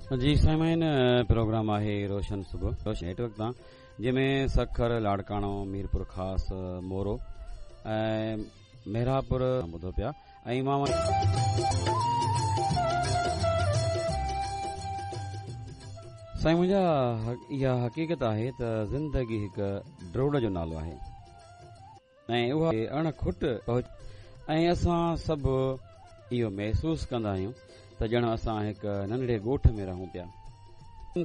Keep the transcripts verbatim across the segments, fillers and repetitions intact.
जी Simon programme आहे रोशन सुबह रोशन network तां जंहिंमें सखर लाड़काणो मीरपुर ख़ास मोरो ऐं मेहरापुर ॿुधो पिया ऐं मां साईं मुंहिंजा इहा हक़ीक़त आहे त ज़िंदगी हिकु ड्रोड़ जो नालो आहे ऐं उहा अण खुट पहुच ऐं असां सभु इहो महसूसु कंदा आहियूं त ॼण असां हिकु नंढड़े ॻोठ में रहूं पिया।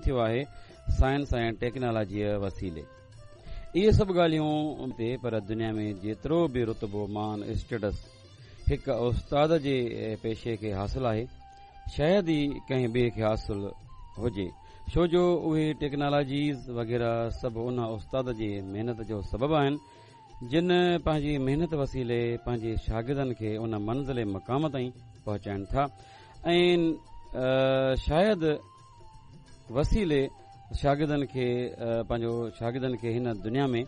थियो आहे साइंस ऐं टेक्नोलॉजीअ वसीले इहे सभु ॻाल्हियूं ते पर दुनिया में जेतिरो बि रुतबो मान स्टेटस हिकु उस्ताद जे पेशे खे हासिल आहे शायदि ई कंहिं ॿिए खे हासिल हुजे, छो जो उहे टेक्नोलॉजीज़ वग़ैरह सभु उन उस्ताद जी महिनत जो सबबु आहिनि जिन पंहिंजी महिनत वसीले पंहिंजे शागिर्दनि खे उन मंज़िल मक़ाम ताईं पहुचाइनि था ऐं शायदि वसीले शागिर्दनि खे पंहिंजो शागिर्दनि खे हिन दुनिया में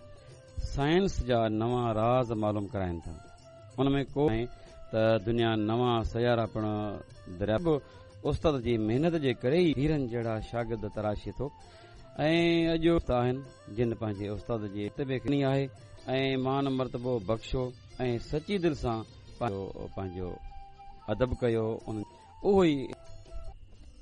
साइंस जा नवां राज़ मालूम कराइनि था। उन में को त दुनिया नवां सयारा पिणु दरिया उस्ताद जी महिनत जे करे ई हीरनि जहिड़ा शागिर्द तराशे थो ऐं अॼु आहिनि जिन पंहिंजे उस्ताद जी रुतबे खे आहे ऐं मान मर्तबो बख़्शो ऐं सची दिलि सां पंहिंजो पंहिंजो अदब कयो उन उहो ई